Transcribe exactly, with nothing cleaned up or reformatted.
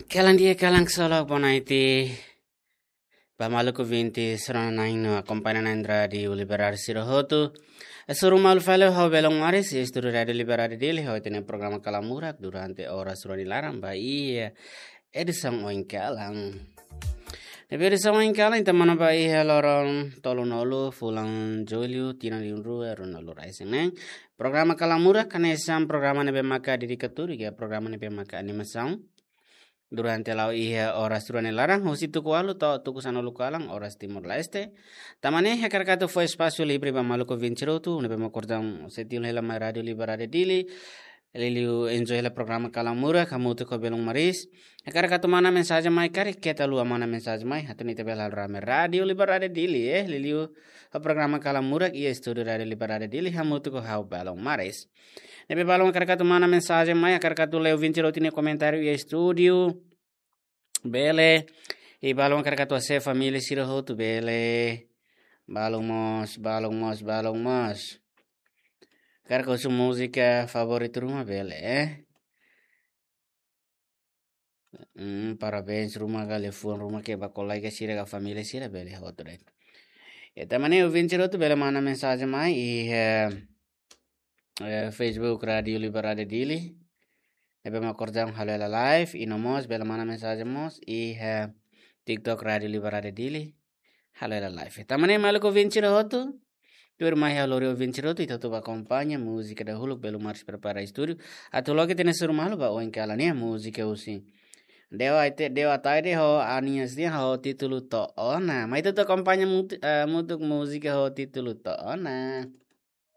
Kalan di'ak, kalan ksolok, boa noite. Ba maluk ouvinte sira-ne'e no akompaña na'in rádiu Liberdade sira hotu. Hasoru malu fali ho Belon Maris, estúdiu Rádiu Liberdade Dili, ho ita-nia programa Kalan Murak durante oras rua nia laran ba iha edisaun oin kalan. Ne'ebé edisaun oin kalan ita manán ba iha loron tolunulu fulan Jullu tinan rihun rua ruanulu resin neen. Programa Kalan Murak hanesan programa ne'ebé maka dedikadu, iha programa ne'ebé maka animasaun. Durante la'o iha oras rua nia laran, husi tuku ualu to'o tuku sanulu kalan, oras Timor-Leste. Tanba ne'e hakarak atu fó espasu livre ba maluk ouvinte sira hotu, ne'ebé mak kordang sei tilun hela mai Rádiu Liberdade Dili, liuliu enjoy hela programa Kalan Murak, hamutuk ho Belon Maris. Hakarak atu manán mensajen mai, karik keta haluha manán mensajen mai, atu nune'e ita bele halo rame Rádiu Liberdade Dili, eh, liuliu ho programa Kalan Murak iha estúdiu Rádiu Liberdade Dili, hamutuk ho ha'u Belon Maris. Ne'ebé balu hakarak atu manán mensajen mai, hakarak atu lee ouvinte sira hotu nia komentáriu iha estúdiu, bele. I balu hakarak atu asesu família sira hotu, bele. Balu mós, balu mós, balu mós. Hakarak husu múzika favoritu ruma, bele, eh. Hmm, parabéns ruma ka liafuan ruma ke ba kolega sira ka família sira, bele hotu de'it. Ya, tanba ne'e ouvinte sira hotu bele manán mensajen mai iha, eh, eh, Facebook Rádiu Liberdade Dili. Ne'ebé mak kordang halo hela live, i no mós bele manán mensajen mós iha, eh, TikTok Rádiu Liberdade Dili. Halo hela live. Tanba ne'e maluk ouvinte sira hotu, tuirmai ha'u lori ouvinte sira hotu, ita hotu bá akompaña múzika dahuluk, Belon Maris prepara estúdiu. Atu loke tene suru malu ba oin kalan nia múzika husi Dewa Aite, Dewa Ataide ho Anias nian ho títulu To'o Ona. Mai ita hotu akompaña mut-, eh, mutuk múzika ho títulu To'o Ona.